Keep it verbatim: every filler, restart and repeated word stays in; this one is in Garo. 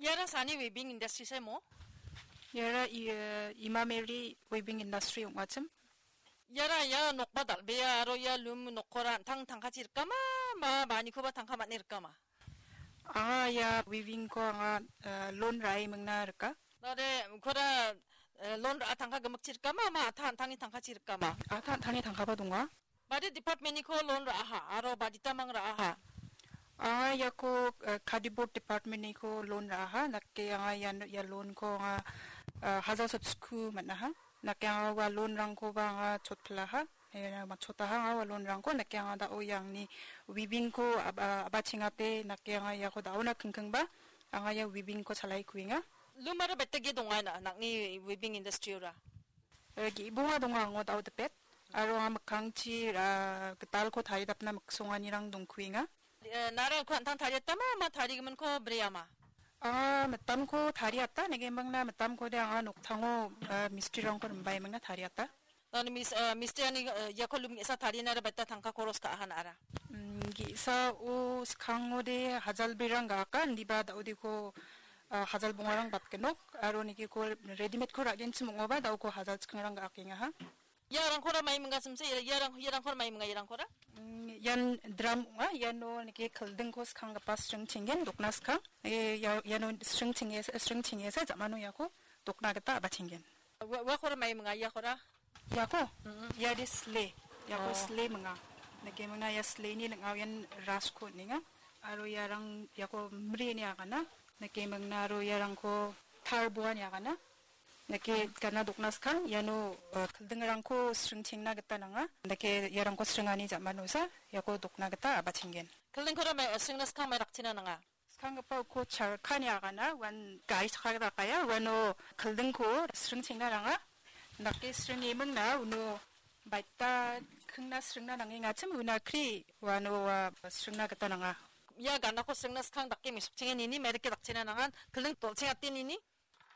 Iara sani weaving industry saimo? Iara i-, eh, Imameri weaving industry ong·achim. Iara ia nokba dal·bea aro ia loom nokkora an·tang tangkachi rikama, ma manikoba tangka man·e rikama? Anga ia weaving-ko anga, eh, loan ra·e mingna rika. Nare, unkora, eh, loan ra·a tangka gimikchi rikama, ma ata an·tangni tangkachi rikama? Ata an·tangni tangkaba donga. Badi department-niko loan ra·aha, aro baditamang ra·aha? Anga iako, eh, cardboard department-niko loan ra·aha. Nake anga ian, ia loan-ko anga, eh, hajar sotku man·aha. Nake anga ua loan-rangkoba anga chotpilaha. Eh, matchotaha anga ua loan-rangko. Nake anga da·o iangni weaving-ko ab-, ah, abachengate. Nake anga iako da·ona kingkingba anga ia weaving-ko chalai kuenga. Loom-ara betege donga na, nangni weaving industry-ora? Eh, ge·bonga donga ango da·o dipet. Aro anga mikkangchi, ah, gitalko taridapna miksonganirang dongkuenga. Eh, nara uko an·tang tariatama, ma tarigiminko breama? Anga mitamko tariata, negemingna mitamkode anga noktango, ah, mistrirangko rimbaimingna tariata. Nani mis-, eh, mistriani, eh, iako loom ge·sa tarinara baita tangka koros ka·aha na·ara? Mm, ge·sao skangode hajal birang ga·aka, indiba da·odiko, ah, hajal bongarang batgenok, aro nigiko readymade-ko ra·genchim ong·oba da·oko hajal chikingrang ga·akengaha. Iarangkora mai minga simse, ia-, iarang-, iarangkora mai minga iarangkora? Mm, ian drum ong·a, iano nike kildingko skanggipa sring chinggen, dokna skang. Eh, ia-, iano sring chingesa, sring chingesa, jamano iako dokna gita abachenggen. Ua-, uakora mai minga iakora? Iako? Mm-mm. Ia de sle. Iako Oh. sle minga. Nike mingna ia sleni ning·ao ian rasko ninga. Aro iarang iako mri ni agana. Nike mingna aro iarangko tar boa ni agana. Nike gana dokna skang, iano, eh, kildingrangko sring chengna gita nanga. Nike iarangko sringani jamanosa, iako dokna gita abachenggen. Kildingkora mai, eh, sringna skang mai rakchina nanga. Skanggipa uko charkani agana, uan gari chakka gita kaya, uano kildingko sring chengna nanga. Dake sring emingna, uno baita kingna sringna nangengachim, una kri, uano ua sringna gita nanga. Ia ganako sringna skang dake mesokchengen ini, merike dakchina nangan, kilding tolchengate nini.